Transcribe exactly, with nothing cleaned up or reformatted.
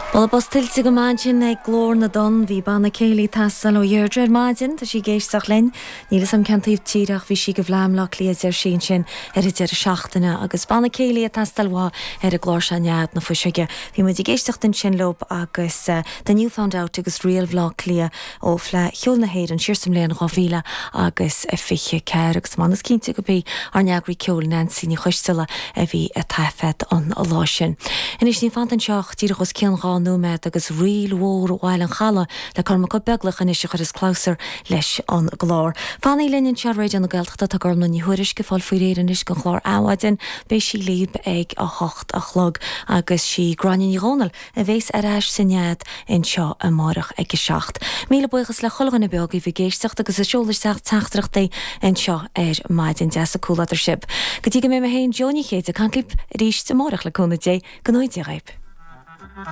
Moladh bos tuillte go maith ansin ag Glór na dTonn. Bhí banna céilí ag teastáil ó Dheirdre ar maidin, tá sí ag éisteacht linn. Níl 'fhios a'm cén taobh tíre ach bhí sí go Bhleá Bleá Cliath deir sí ansin ar an deireadh seachtaine agus banna céilí ag teastáil uaithi ar an gclár seo Nead na Fuiseoige. Bhí muid ag éisteacht ansin leo agus The New Found Out agus Ríl Bhleá Cliath ó Fleadh Cheoil na hÉireann siar sa mbliain dhá mhíle agus a fiche ceathair agus m'anam is cinnte gurb í ár n-eagraí ceoil Nancy Ní Choisteala a bhí ag taifead an lá sin. Anois níl fanta anseo ach díreach os cionn dhá nóiméad agus ríl mhór Bhaile an Chalaidh le Cormac Ó Beaglaoich anois a chuirfeas clabhsúr leis an gclár. Fanaigí linn anseo ar Raidió na Gaeltachta tá Gormlaith Ní Thuairisg ag fáil faoi réir anois don chlár Adhmhaidin, beidh sí libh ag a hocht a chlog agus sí Gráinne Ní Dhomhnaill a bhéas ar ais sa nead anseo amárach ag a seacht. Míle buíochas le chuile dhuine beo agaibh ag éisteacht agus ag seoladh isteach teachtaireachtaí anseo ar maidin deas an comhluadar sibh. Go dtí go mbeidh mé féin Jó Ní Chéide ag caint libh arís amárach le cúnamh Dé go ngnóthaí Dia dhaoibh.